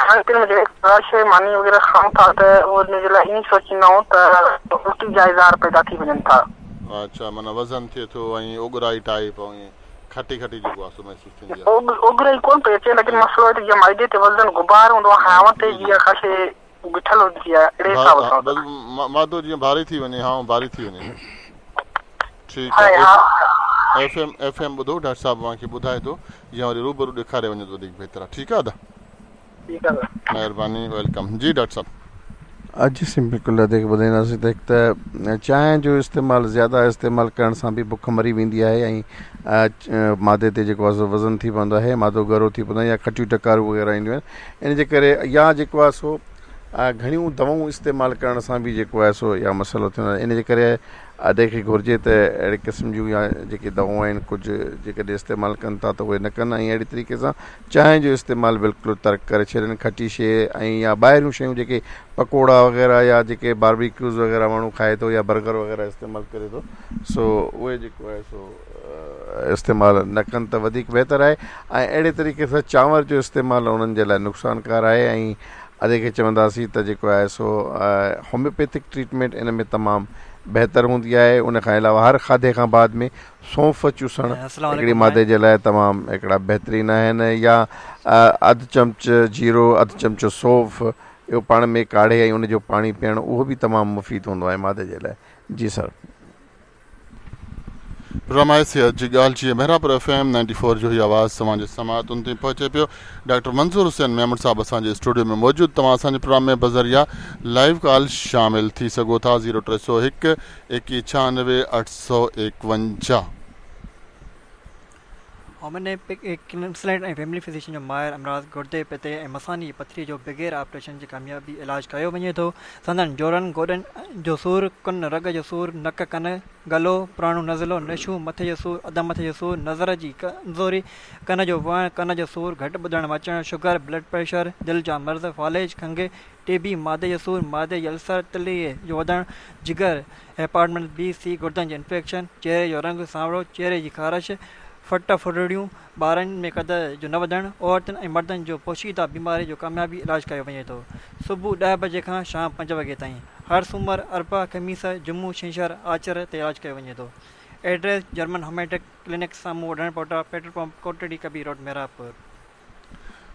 کائڻ پيئڻ ۾ جيڪڏهن ڪا شيء ماني وغيره کائون ٿا ته ان جي لاء ائين سوچيندا آهيون ته الٽي جا اظهار پيدا ٿي وڃن ٿا. اڇا معنيٰ وزن ٿئي ٿو ۽ اوڳرائي ٽائيپ ۽ کٽي کٽي جيڪو آهي سو محسوس ٿيندي آهي. اوڳرائي ڪونه پئي اچي ليڪن مسئلو آهي ته جيئن معدي تي وزن غبار هوندو آهي هانء تي جيئن ڪا شيء بيٺل هوندي آهي اهڙي حساب سان. بس معدو جيئن ڀاري ٿي وڃي هانء ڀاري ٿي وڃي. ٺيڪ آهي ايف ايم ايف ايم ٻڌو ڊاڪٽر صاحب اوهان کي ٻڌائي ٿو يا وري روبرو ڏيکاري وڃو ته وڌيڪ بهتر آهي ٺيڪ آهي ادا ٺيڪ آهي مهرباني welcome جي ڊاڪٽر صاحب. جي سائين بلڪل ادي کي ٻڌائينداسين ته هڪ ته چانهه جو استعمال زياده استعمال ڪرڻ سان به بک مري ويندي آهي ۽ معدي تي جيڪو آهي سو وزن ٿي پوندو آهي معدو ڳرو ٿي پوندو آهي يا کٽيون ڊڪارون وغيره اينديون آهن ان جي ڪري يا جيڪو آهي سو گهڻيون دوائون استعمال ڪرڻ سان به جيڪو آهي سو اها مسئلو ٿيندو آهي ان جي ڪري ادي کي گهرجي ته اهڙي قسم جون يا جيڪي دوائون آهن ڪجهه جيڪڏهن استعمال ڪن ٿا ته اهي نه ڪن ۽ اهڙي طريقي سان چانهه جو استعمال بلڪل ترڪ ڪري ڇڏين کٽي شيء ۽ يا ٻاهريون شيون جيڪي پڪوڙا وغيره يا جيڪي باربيڪيوز وغيره ماڻهو کائي ٿو يا برگر وغيره استعمال ڪري ٿو سو اهي جيڪو آهي سو استعمال نه ڪن ته وڌيڪ بهتر آهي ۽ اهڙي طريقي سان چانور جو استعمال انهن جي لاء نقصانڪار آهي ۽ ادي کي چونداسين ته جيڪو آهي سو هوميوپيٿڪ ٽريٽمينٽ ان ۾ تمام بهتر هوندي آهي ان کان علاوه هر کاڌي کان بعد ۾ سونف چوسڻ السلام هڪڙي عليڪم معدي سائين. جي لاء تمام هڪڙا بهترين آهن يا اڌ چمچ جيرو اڌ چمچو سونف اهو پاڻ ۾ ڪاڙهي ۽ ان جو پاڻي پيئڻ اهو به تمام مفيد هوندو آهي معدي جي لاء جي سر. پروگرام صحت جي ڳالهه جيئن Mehrabpur F M ninety four جو هي آواز توهان جي سماعتن تائين پهچي پيو ڊاڪٽر منظور حسين ميمڻ صاحب اسان جي اسٽوڊيو ۾ موجود توهان اسان جي پروگرام ۾ بذريعه لائيو ڪال شامل ٿي سگهو ٿا zero 301 21 96 851. Homeopathic consultant ۽ family physician جو ماهر امراض گردي، پتي ۽ مثاني جي پٿري جو بغير آپريشن جي ڪاميابي علاج ڪيو وڃي ٿو. سندن جوڙن، گوڏن جو سور، ڪن رڳ جو سور، نڪ، ڪن، گلو، پراڻو نزلو، نشو، مٿي جو سور، اڌ مٿي جو سور، نظر جي ڪمزوري، ڪن جو وهڻ، ڪن جو سور، گهٽ ٻڌڻ مچڻ، شگر، بلڊ پريشر، دل جا مرض، فالج، کنگهه، ٽي بي، معدي جو سور، معدي جي السر، تلي جو وڌڻ، جگر، هيپاٽائٽس بي، سي، گردن جي انفيڪشن، چهري جو رنگ سانورو، چهري جي خارش، ڦٽ ڦرڙيون، ٻارن ۾ قد جو نه وڌڻ، عورتن ۽ مردن جو پوشيده بيماري جو ڪاميابي علاج ڪيو وڃي ٿو. صبح ڏهه بجي کان شام پنج وڳي تائين. هر سومر، اربع، خميس، جمعو، ڇنڇر، آچر تي علاج ڪيو وڃي ٿو. ايڊريس، جرمن هوميوپيٿڪ ڪلينڪ سامهون وڍڻ پوٽا petrol pump Kotri Kabir road Mehrabpur.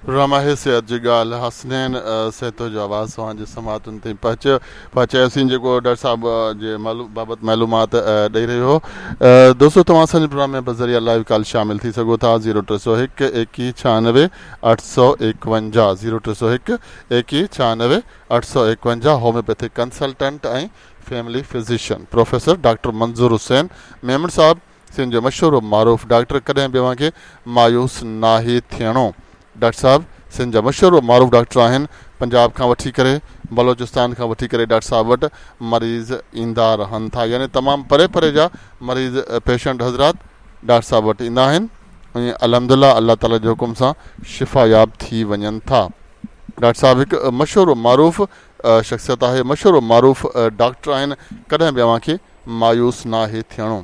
Programme آهي صحت جي ڳالهه حسنين سهتو جو آواز اوهان جي سماعتن تائين پهچيو پهچايوسين جيڪو ڊاڪٽر صاحب جي بابت معلومات ڏئي رهيو هو دوستو توهان اسان جي پروگرام ۾ بذريعه لائيو ڪال شامل ٿي سگهو ٿا zero 301 21 96 851 zero 301 21 96 851 homeopathic consultant ۽ family physician professor doctor Manzoor Hussain Memon صاحب سنڌ جو مشهور و معروف ڊاڪٽر ڪڏهن به اوهان کي مايوس ناهي ٿيڻو ڊاڪٽر صاحب سنڌ جا مشهور و معروف ڊاڪٽر آهن پنجاب کان وٺي ڪري بلوچستان کان وٺي ڪري ڊاڪٽر صاحب وٽ مريض ايندا رهن ٿا يعني تمام پري پري جا مريض پيشنٽ حضرات ڊاڪٽر صاحب وٽ ايندا آهن ۽ الحمدلله الله تعالي جي حڪم سان شفا ياب ٿي وڃن ٿا ڊاڪٽر صاحب هڪ مشهور و معروف شخصيت آهي مشهور و معروف ڊاڪٽر آهن ڪڏهن به اوهان کي مايوس ناهي ٿيڻو.